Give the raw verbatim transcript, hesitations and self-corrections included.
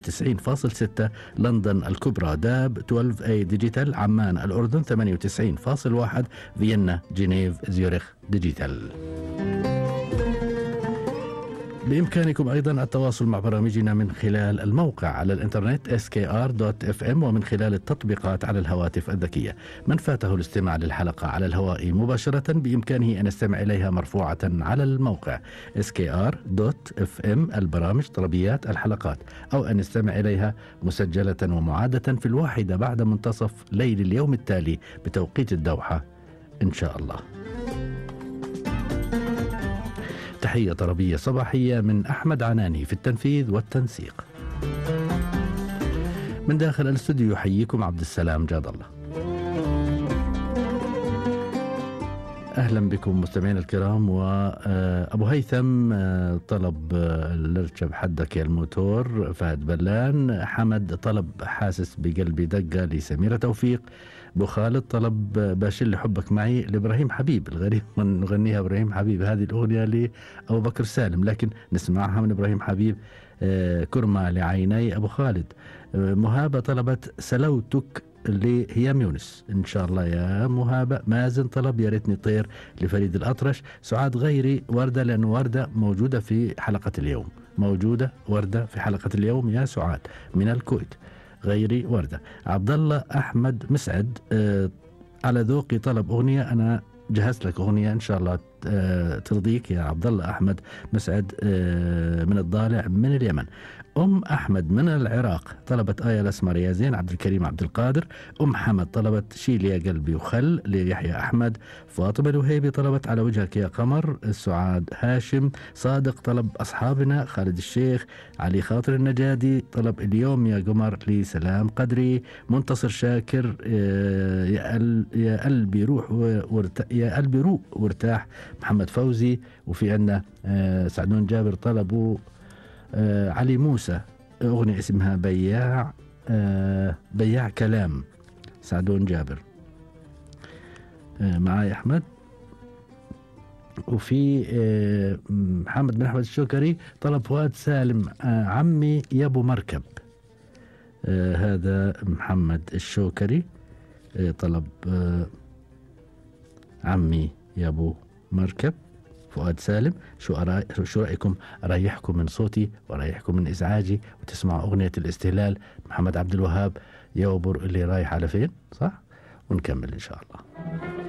تسعين فاصل ستة لندن الكبرى داب اثنا عشر اي ديجيتال، عمان الأردن ثمانية وتسعين فاصل واحد، فيينا جنيف زيورخ ديجيتال. بإمكانكم أيضا التواصل مع برامجنا من خلال الموقع على الإنترنت إس كي آر دوت إف إم ومن خلال التطبيقات على الهواتف الذكية. من فاته الاستماع للحلقة على الهواء مباشرة بإمكانه أن يستمع إليها مرفوعة على الموقع إس كي آر دوت إف إم البرامج طلبيات الحلقات، أو أن يستمع إليها مسجلة ومعادة في الواحدة بعد منتصف ليل اليوم التالي بتوقيت الدوحة إن شاء الله. تحية طربية صباحية من أحمد عناني في التنفيذ والتنسيق. من داخل الاستوديو يحييكم عبد السلام جاد الله. أهلا بكم مستمعين الكرام. وأبو هيثم طلب الاركب حدك يا الموتور فهد بلان. حمد طلب حاسس بقلبي دقة لسميرة توفيق. أبو خالد طلب باشل حبك معي لإبراهيم حبيب. الغريب من نغنيها إبراهيم حبيب هذه الأغنية لأبو بكر سالم، لكن نسمعها من إبراهيم حبيب. كرمة لعيني أبو خالد. مهابة طلبت سلوتك لهيام يونس إن شاء الله يا مهابة. مازن طلب يا ريتني طير لفريد الأطرش. سعاد غيري وردة، لأن وردة موجودة في حلقة اليوم، موجودة وردة في حلقة اليوم يا سعاد من الكويت. غيري وردة. عبد الله أحمد مسعد آه على ذوقي طلب أغنية، أنا جهزت لك أغنية إن شاء الله آه ترضيك يا عبد الله أحمد مسعد آه من الضالع من اليمن. أم أحمد من العراق طلبت آية الأسمر يا زين. عبد الكريم عبد القادر. أم حمد طلبت شيل يا قلبي وخل ليحيى أحمد. فاطمة الوهيبي طلبت على وجهك يا قمر. سعاد هاشم. صادق طلب أصحابنا. خالد الشيخ. علي خاطر النجادي طلب اليوم يا قمر لسلام قدري. منتصر شاكر آه يا, ال يا قلبي روح ورت يا قلبي روح وارتاح. محمد فوزي. وفي عندنا آه سعدون جابر طلبوا آه علي موسى أغنية اسمها بياع آه بياع كلام. سعدون جابر آه معاي أحمد. وفي آه محمد بن أحمد الشوكري طلب فؤاد سالم آه عمي يا أبو مركب. آه هذا محمد الشوكري آه طلب آه عمي يا أبو مركب. فؤاد سالم. شو أرا... شو رأيكم أريحكم من صوتي وأريحكم من إزعاجي وتسمعوا أغنية الاستهلال محمد عبد الوهاب يوبر اللي رايح على فين، صح؟ ونكمل إن شاء الله.